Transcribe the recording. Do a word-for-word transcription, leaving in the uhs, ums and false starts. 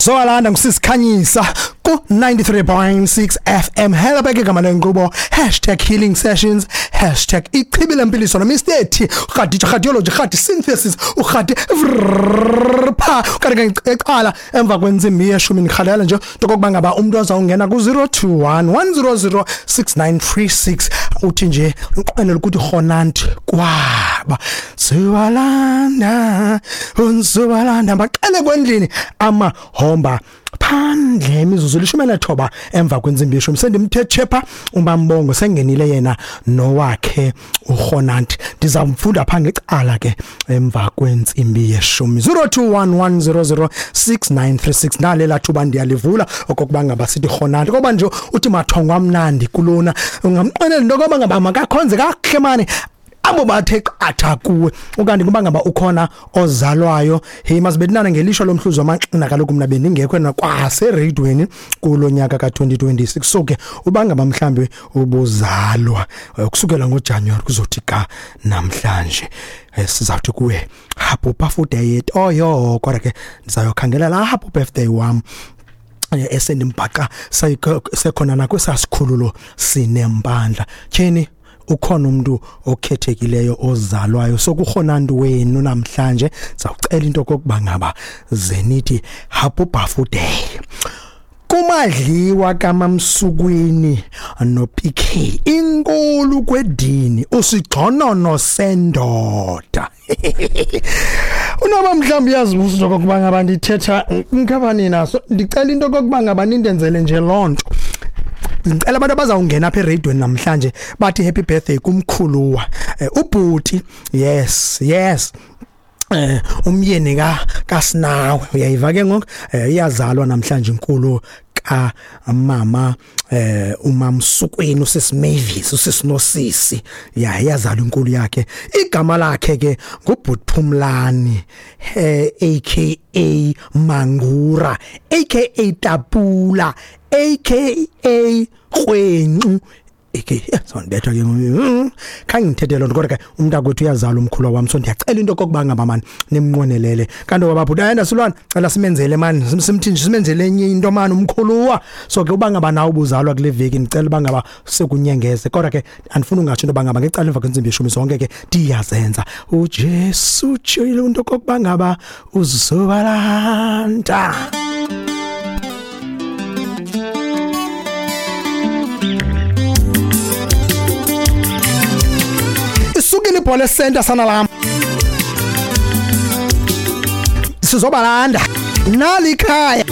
Soalanda ngusisikhanyisa ku ninety-three point six F M. Hello beke igama lenkqubo hashtag healing sessions hashtag ichibi lempiliso no Mister T rhadi radiology rhadi synthesis urhadi pha kanti eqala emva kwentsimbi yeshumi ndikhalela nje okokuba ngaba umuntu azawungena ku zero two one one zero zero six nine three six uthi nje uqwenela ukuthi honant kwaba siwalanda unsiwalanda baqale kwendlini amahomba phandle imizuzu elishumi nethoba emva kwentsimbi yeshumi sendimthe chepha uMambongo sengenile yena nowakhe uHonant ndizamfunda pha ngecala ke emva kwentsimbi yeshumi zero two one one zero zero six nine three six nalela thuba ndiyalivula okokuba ngaba sithi Honant ngoba nje uthi mathongo amnandi kulona ungamqinela into yokuba ngaba makakhonze kakuhle mani abo bathe qatha kuwe ukanti kuba ngaba ukhona ozalwayo hey masibethinana ngelisho lomhluzo amanxina kaloku mina bendingekho na kwase radioweni kulonyaka ka twenty twenty-six so ke uba ngaba mhlambi ubuzalwa kusukela ngoJanuary kuzothi ka namhlanje sizawuthi kuwe happy birthday oyo kodwa ke ndizayokhangela la happy birthday wam esendimbhaqa sekhona nakwesasikhululo sinempandla tyhini ukhona umuntu okhethekileyo ozalwayo so kuhonantu wenu namhlanje sizawucela into kokuba ngaba zenithi happy birthday kumadliwa kaMamsukwini no P K inkulu kwedini usigxonono sendoda unoba mhlawumbi uyazibuza into kokuba ngaba ndithetha ngaba nina so ndicela into kokuba ngaba nindenzele nje lonto ngicela abantu abazawungena apha eradioweni namhlanje bathi happy birthday kumkhuluwa ubhuti yes yes eh umyeni ka kaSinawe uyayiva ke ngoku iyazalwa namhlanje inkulu ka mama eh uMamsukweni usisi Mavis usisi Nosisi ya iyazalwa inkulu yakhe igama lakhe ke nguBhutphumlani eh aka Mangura aka Tapula aka Rwencu eke sonibetha ke khange ngithethe lonto kodwa ke umntakwethu uyazala umkhulu wami so ndiyacela into kokuba ngaba mani nimnqwenelele kanti wababhuti ayenda silwana cela simenzele mani simthi nje simenzele enye into mani umkhuluwa so ke uba ngaba nawe ubuzalwa kule veki ndicela uba ngaba sekunyengeze kodwa ke andifuni ungatsho into ngaba ngecala emva kwentsimbi yeshumi zonke ke ndiyazenza uJesu utshilo into kokuba ngaba uzobalanda isukile ibhola esenta sana lam sizobalanda nali ikhaya.